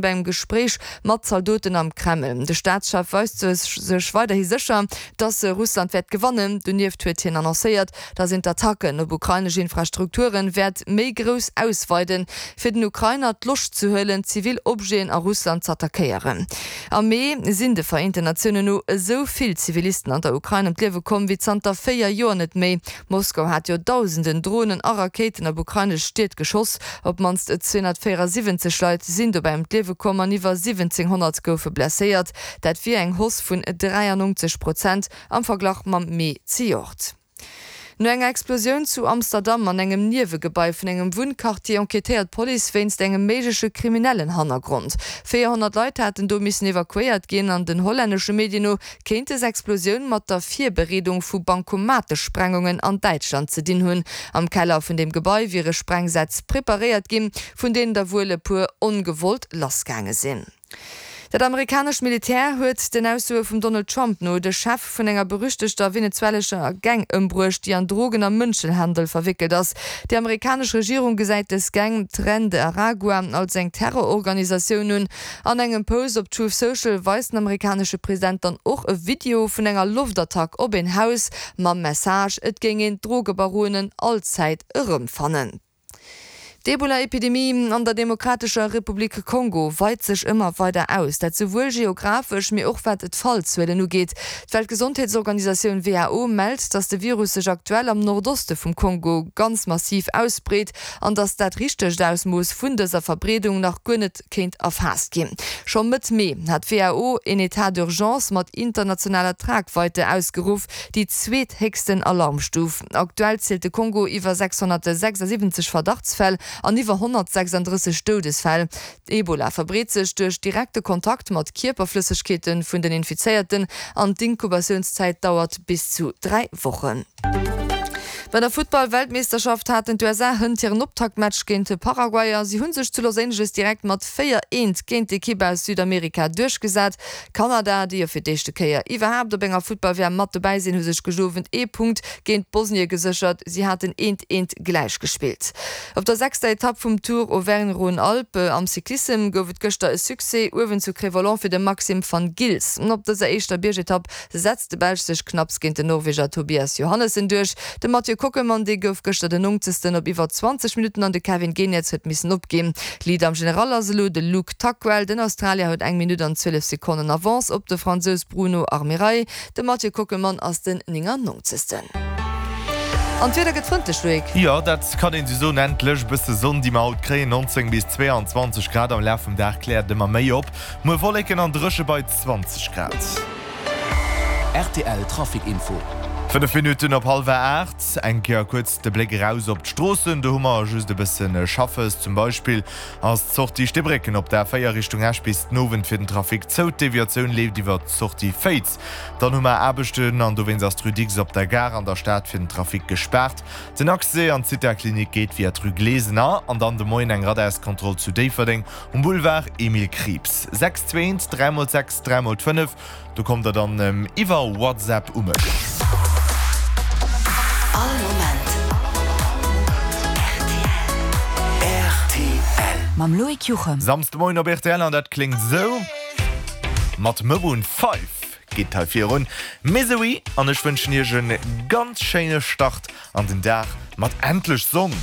Bei engem Gespréich mat Zaldoten am Kreml. De Staatschef weist sech weiderhi sécher, datt Russland wäert gewannen. Donieft huet hien annoncéiert, datt een d'Attacken op ukrainesch Infrastrukture wäert méi grouss ausweiden, fir den Ukrainer d'Loscht ze huelen, zivil Objeten a Russland z'attackéieren. Am Mee sinn de Vereenten Natiounen no esou vill Zivilisten an der Ukrain ëm d'Liewe komm wéi zanter 4 Joer net méi. Moskau hat jo dausenden Dronen a Rakéiten op ukrainesch Stied geschoss. Op d'mannst 274 Leit sinn dobäi ëm d'Liewe komm an iwwer 1.700 goufe blesséiert. Dat wier eng Hausse vun 93 Prozent am Verglach mam Mee zejoert. No enger Explosioun zu Amsterdam an engem Niewegebai vun engem Wunnquartier enquêtéiert d'Police wéinst engem méigleche kriminellen Hannergrond. 400 Leit haten do missen evakuéiert ginn an den hollännesche Medien no Kéint des Explosioun mat der Virbereedung vu Bankomatesprengungen an Däitschland ze dinn hunn? Am Keller vun dem Gebai wiere Sprengsätz preparéiert ginn, vun deenen der wuel e puer ongewollt lassgaange sinn. Dat amerikanescht Militär huet den Aussoe vum Donald Trump no de Chef vun enger berüchtegter venezuelescher Gang ëmbruecht, déi an Drogen a Mënschenhandel verwéckelt ass. Déi amerikanesch Regierung gesäit dës Gang, Tren de Aragua, als eng Terrororganisatioun un. An engem Post op Truth Social weist den amerikanesche President dann och e Video vun enger Loftattack op een Haus mam Message, et géing een d'Drogebaronen allzäit erëmfannen. D'Ebola-Epidemie an der Demokratescher Republik Kongo weit sech ëmmer weider aus, dat souwuel geographesch, mee och wat d'Fallzuelen ugeet. D'Weltgesondheetsorganisatioun who mellt, datt de Virus sech aktuell am Nordoste vum Kongo ganz massiv ausbreet an datt dat richtegt Ausmooss vun dëser Verbreedung nach guer net kéint erfaasst ginn. Scho Mëtt Mee hat d'WHO een Etat d'urgence mat internationaler Tragweite ausgeruff, déi zweethéchsten Alarmstuf. Aktuell zielt de Kongo iwwer 676 Verdachtsfäll an iwwer 136 Doudesfäll. Ebola verbreet sech duerch direkte Kontakt mat Kierperflëssegkeete vun den Infizéierten an d'Inkubatiounszäit dauert bis zu 3 Wochen. Bei der Futtball-Weltmeeschterschaft haten d'USA hënt hiren Optaktmatch géint Paraguay a si hu sech zu Los Angeles direkt mat 4, 1 géint d'Ekipp aus Südamerika duerchgesat. Kanada, déi jo fir d'éischte Kéier iwwerhaapt op enger Futtball-WM mat dobäi sinn, hu sech gëscht Owend ee Punkt géint Bosnie geséchert. Si haten 1, 1 gläich gespillt. Op der sechster Etapp vum Tour Auvergne-Rhône-Alpes am Cyclissem gouf et gëschter e Succès uewen zu Cré-Volant fir de Maxim Van Gils. Op dëser éischter Biergetapp setzt de Belsch sech knapps géint den Norweger Tobias Johannessen duerch. De Mathieu Kockelmann, dee gouf gëschter den Nongzegsten op iwwer 20 Minutten an de Kevin Geniets huet missen opginn. Leader am General ass elo de Luke Tuckwell. Den Australier huet eng Minutt an 12 Sekonnen Avance op de Fransous Bruno Armirail. De Mathieu Kockelmann ass den Néngannongzegsten. An d'Wieder gëtt frëndlech, Loïc. Jo, dat kann een esou soen. Endlech e bësse Sonn, déi mer haut kréien. 19 bis 22 Grad am Laf vum Dag kläert ëmmer méi op. Muer Wolleken an dréche bei 20 Grad. Rtl Trafic Info. 5 Minutten op hallwer 8. Eng Kéier kuerz de Bléck eraus op d'Stroossen. Do hu mer just e bësse Schaffes. Zum Beispill ass d'Sortie Steebrécken op der A4 Richtung Esch bis den Owend fir den Trafic zou. D'Deviatioun leeft iwwer d'Sortie Féiz. Dann hu mer Aarbechten an dowéinst ass d'Rue Dicks op der Gare an der Stad fir den Trafic gespaart. Den Accès an d'Zitha-Klinik geet via d'Rue Glesener. An dann de Moien eng Radarskontroll zu Déifferdeng Um Boulevard Emile Krieps. 6 2 1 3 mol 6 3 mol 5, do kommt der dann iwwer WhatsApp u mech. All Moment rtl. Mam Loïc Juchem. Samsdemoien op rtl an dat kléngt esou. Mat Maroon 5 geet et hei virun. Misery an ech wënschen iech e ganz schéine Start an den Dag mat endlech Sonn.